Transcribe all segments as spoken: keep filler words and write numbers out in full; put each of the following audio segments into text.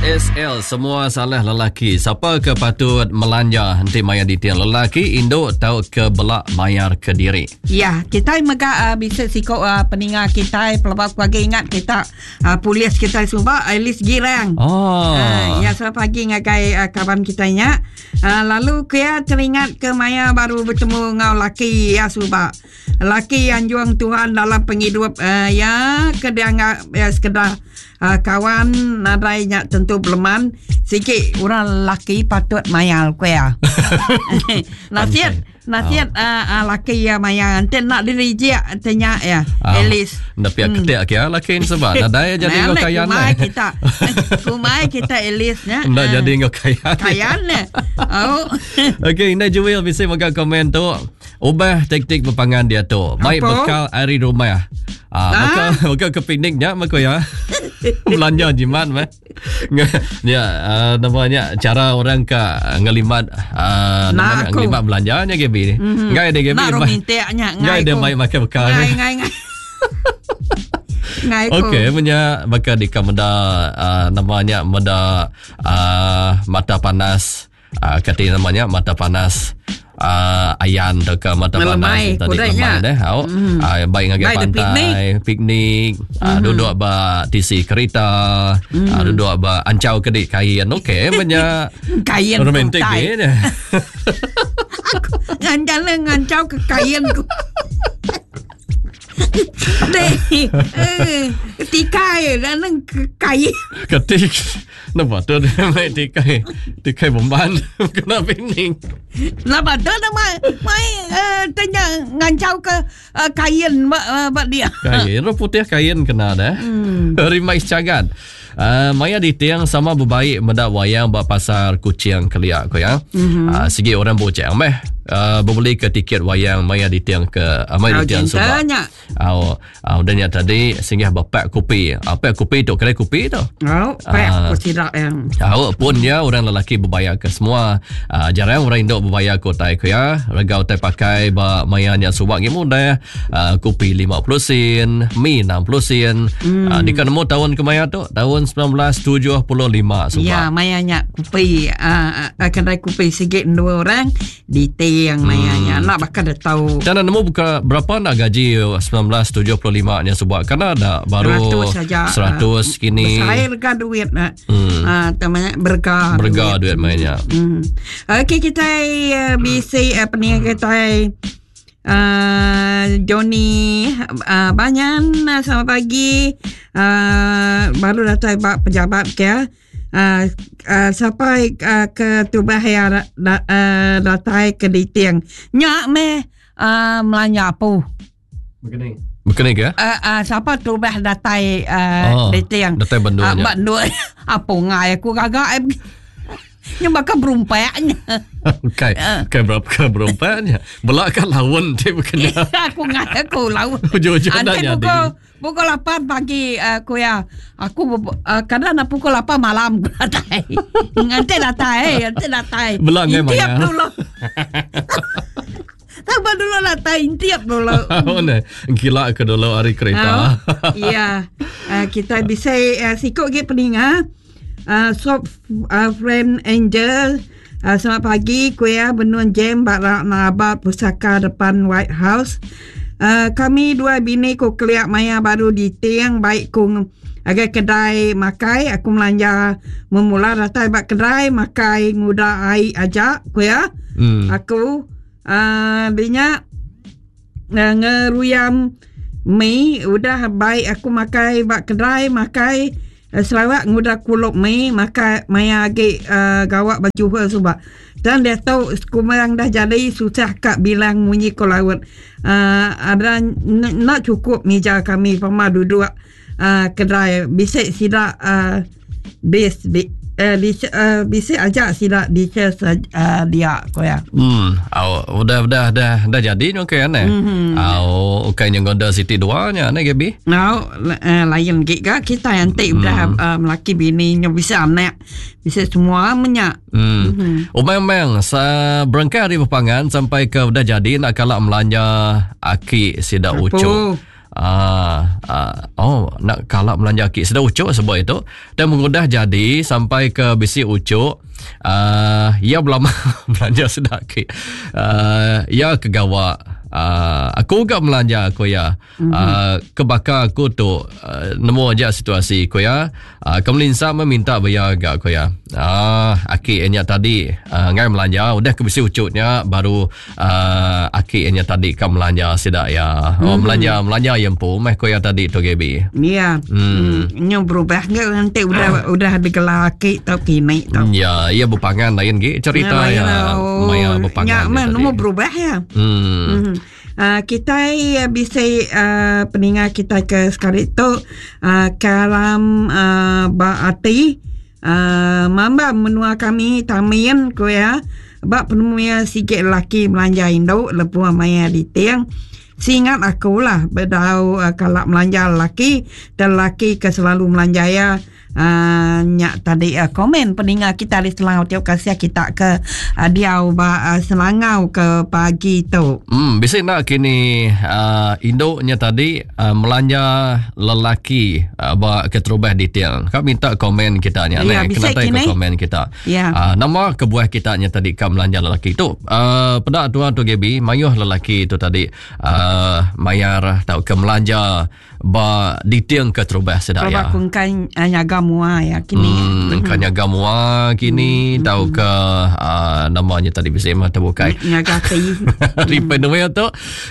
S S L semua salah lelaki. Siapa ke patut melanja nanti maya ditiang lelaki induk tau ke belak bayar ke diri. Ya, kita mega uh, bisa siko uh, peninga kita pelabak pagi ingat kita uh, polis kita suba Alice Girang. Oh. Uh, ya, selamat pagi ngagai uh, kawan kita nya. Uh, lalu kia teringat ke maya baru bertemu ngau laki ya suba. Laki yang juang Tuhan dalam penghidup uh, ya ke dia ngak ya sekedar uh, kawan nadai nya tentu beleman sikit orang laki patut mayal kuya. Nasihat nasihat oh. uh, uh, laki ya maya nanti nak dirijik tanya ya Ah, Alice. Nak pihak ketik ke laki ni sebab nadai jadi ngau kaya kumai ni. kita. Kumai kita Alice nya. Nak Ah, jadi ngau kaya. kaya ni. Oh. Okey, Indah Jewel bisa makan komen tu. Ubah taktik berpangan dia tu. Baik Apa? bekal air rumah. Ah, Ah? bekal bekal ke pikniknya maka ya. Belanja jimat meh. Ya, uh, namanya cara orang ke ngelimat uh, Nak namanya aku. ngelimat belanjanya G B ni. Mm-hmm. Ngai dia G B. Nak romantiknya Ngai dia mai makan bekal. Ngai ngai ngai. Ngai ku. Okey, punya bakal di meda uh, namanya meda uh, mata panas uh, kata namanya mata panas uh, ayan atau ke mata Melemai, panas tadi kudanya. lemai deh. Au. Mm. Uh, baik ngagai Baik dia pantai, piknik, mm. uh, duduk ba tisi kereta, mm. uh, duduk ba ancau kedik kain. Okey, punya Kain romantik kutai. ni. Aku nganjal ngancau ke kain ku. Deh, eh, tikai dan nang ke kain. Ketik nampak tu dia main tikai tikai bomban kena piknik. Lapa tu nak mai mai eh, tanya ngancau ke eh, kain ba, eh, ba dia. Kain roh putih kain kena dah. Hmm. Rimax cagat. Uh, maya ditiang sama berbaik mendak wayang buat pasar kucing keliak ko ya. Mm-hmm. Uh, segi orang boceng meh. Uh, berbeli ke tiket wayang maya ditiang ke uh, maya Kau ditiang sebab. cintanya. Uh, uh, dan yang tadi singgah bapak kopi. Uh, pak kopi tu kedai kopi tu. Oh, pak Ah. aku tidak yang. Awak pun ya orang lelaki berbayar ke semua. Uh, jarang orang induk berbayar ke utai ke ya. Rega utai pakai ba maya nya subak gi mudah. Uh, kopi lima puluh sen, mi enam puluh sen. Hmm. Uh, di kan nemu tahun ke maya tu tahun sembilan belas tujuh puluh lima subak. Ya, mayanya kupi uh, uh, kedai kupi sikit dua orang ditiang mayanya. Nak bakal dah tahu. Dan nemu buka berapa nak gaji sembilan belas tujuh puluh lima nya subak karena ada baru Seratus saja. seratus kini. Besar harga duit nak. Hmm. Ah, temannya berga. Berga duit mainnya. Hmm. Okey kita uh, bisi uh, peniaga kita uh, Johnny uh, Banyan uh, selamat pagi. Uh, baru datang bak pejabat ke. Uh, uh, sampai uh, ke Tubah ya da, uh, datai ke Ditiang. Nyak meh uh, melanja apa? Begini. Begini ke? Uh, uh, siapa Tubah datai uh, Oh, Ditiang? datai Bandung Ah, nya. Bandung. Apa ngai aku gagak. Nya bakal berumpaknya. Kai, kai berapa ke berumpaknya? Belak kan lawan dia bukan. Aku ngai aku lawan. Ujung-ujung nak Nanti jadi. pukul pukul lapan pagi aku ya. Aku uh, kadang nak pukul lapan malam aku datai. Nanti datai, nanti datai. Belak ngai Intiap maya. dulu. Tambah dulu datai intiap dulu. Oh ne, gila ke dulu hari kereta. Oh, ya. Uh, kita bisa uh, sikut ke peninga. Uh, sob uh, friend Angel. Uh, selamat pagi kuya benun jam barak nabat pusaka depan White House. Uh, kami dua bini ku keliak maya baru di tiang baik ku agai kedai makai aku melanja memula datai bak kedai makai nguda ai aja kuya. Hmm. Aku uh, binya uh, ngeruyam mi udah baik aku makai bak kedai makai uh, Sarawak ngudah kuluk mi makai maya agi uh, gawak baju her subak. Dan dia tahu kumarang dah jadi susah kak bilang munyi ke laut. Uh, ada n- nak cukup meja kami pama duduk uh, kedai bisik sidak uh, bis bi, uh, di, uh, bisik ajak sidak di uh, dia ko ya. Hmm, aw, udah udah dah dah jadi ni okey kan eh. Mm-hmm. Aw, okey yang gonda City dua nya ne Gaby. Now, uh, lain gig ka kita yang tik udah uh, melaki bini nya bisa anak bisa semua menyak. Hmm. Mm-hmm. Oh memang sa berangkat hari berpangan sampai ke udah jadi nak kalak melanja aki sidak Apa? ucuk. Ah, ah, oh nak kalak belanja aki sudah ucuk sebab itu dan mengudah jadi sampai ke bisi ucuk ah, ia belama belanja sudah aki ah, ia kegawa ah, aku gak belanja aku ya mm-hmm. ah, kebakar aku tu uh, nemu aja situasi aku ya ah, kemelinsa meminta bayar gak aku ya ah, aki nya tadi uh, ngai belanja udah ke bisi ucuknya baru uh, aki nya tadi ke belanja sidak ya oh mm-hmm. belanja belanja yang pu meh ko ya tadi tu Gaby. Ya. Hmm. Nyo berubah ke nanti udah udah digelar aki tau kini tau. Ya, ia berpangan lain ge cerita ya. ya oh, maya berpangan. Ya, mana berubah ya. Hmm. Hmm. Uh, kita uh, bisa uh, peningat kita ke sekali tu uh, kalam uh, baati uh, mamba menua kami tamin ko ya bak penemuya sikit lelaki belanja induk lebuh maya diting. Singat aku lah bedau uh, kalak melanja lelaki dan lelaki ke selalu melanja ya uh, nyak tadi uh, komen peningat kita di Selangau tiap kasih kita ke uh, diau ba uh, Selangau ke pagi tu. Hmm, bisa nak kini uh, induknya tadi uh, melanja lelaki uh, ba keterubah detail. Kau minta komen kita nya ya, ne kena tai ke komen kita. Ya. Uh, nama kebuah kita nya tadi ka melanja lelaki tu. Uh, pedak tuan tu Gaby, mayuh lelaki tu tadi uh, Uh, mayar tau ke melanja ba ditiang ke terubah sedak ya. Ba kungkan uh, nyaga mua ya kini. Hmm, kan nyaga mua kini hmm. tau ke uh, namanya tadi bisa mah terbukai. Nyaga ti. Ripen hmm. tu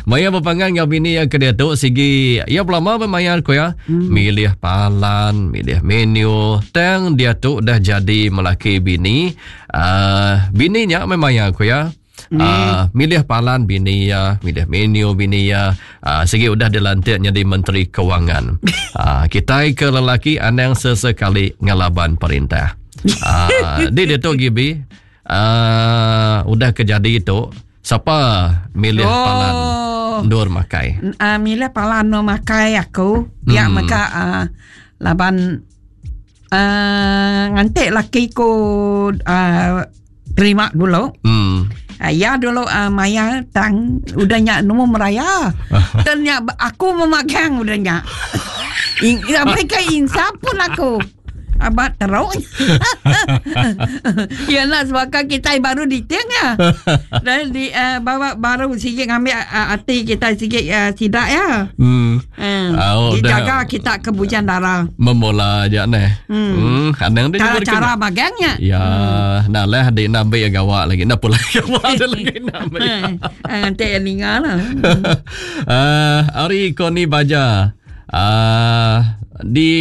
maya berpangan ngau bini yang ke dia tu sigi ya belama bermayar ko ya. Hmm. Milih palan, milih menu, tang dia tu dah jadi melaki bini. Uh, bininya memang ko ya. Uh, milih palan bini ya, milih menu bini ya, uh, segi udah dilantik jadi Menteri Kewangan. Uh, kita ke lelaki anang sesekali ngelaban perintah. Uh, dia dia tu Gibi, uh, udah kejadi itu, siapa milih oh. palan dur makai? Uh, milih palan dur makai aku, biar hmm. maka uh, laban uh, ngantik laki ku uh, terima dulu. Hmm. Ya dulu uh, Maya tang udah nyak nemu meraya. Dan nyak aku memagang udah nyak. Sampai ke insaf pun aku. Abat teruk. Ya nak sebab kita baru diting ya. Dan di uh, bawa baru sikit ngambil uh, hati kita sikit uh, sidak ya. Hmm. Hmm. Oh, dijaga kita kebujan darah. Memula aja neh. Hmm. Hmm. Anang dia cara-cara magangnya. Ya, hmm. Nah lah adik nak ambil gawak lagi. Nak pula gawak ada lagi nak ambil. Nanti ninga lah. Uh, Ari Koni Baja. Uh, di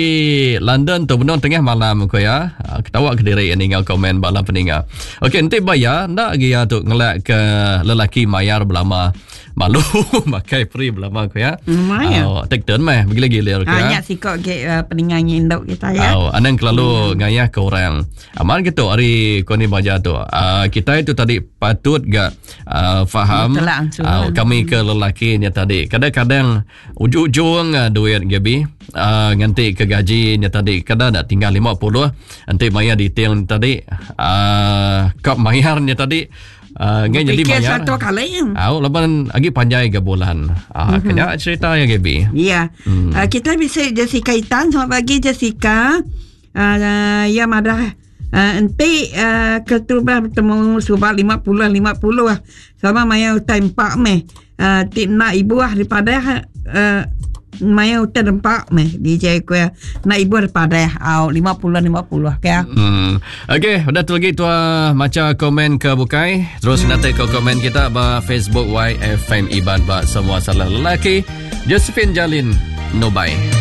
London tu benar tengah malam ko ya. Ketawa ke diri ningal komen bala peninga. Okey, nanti bayar ndak lagi ya tu ngelak ke lelaki mayar belama. Malu makai free belama ko ya. Maya. Oh, take turn meh bagi lagi lir ko ya. Hanya sikok ke uh, peninga induk kita ya. Oh, anang kelalu hmm. ngayah ke orang. Aman gitu hari kau ni baca tu. Uh, kita itu tadi patut gak uh, faham uh, kami ke lelaki nya tadi. Kadang-kadang ujung-ujung uh, duit Gaby uh, nganti ke gaji nya tadi kadang nak tinggal lima puluh nanti bayar detail tadi uh, kap bayarnya tadi uh, ngai jadi bayar satu kali. Au laban lagi panjai ke bulan. Ah uh, kena cerita ya Gaby. Ya. Hmm. Uh, kita bisa Jessica Itan, selamat pagi Jessica. Uh, ya madah uh, enti uh, keterubah bertemu subak lima puluh lima puluh sama maya utai empat meh. Uh, ti nak ibu ah daripada uh, maya utai empat meh D J ku ya. Nak ibu daripada au lima puluh lima puluh ke. Hmm. Okey, udah tu lagi tua baca komen ke bukai. Terus hmm. nanti ke komen kita ba Facebook Y F M Iban ba semua salah lelaki. Josephine Jalin no bye.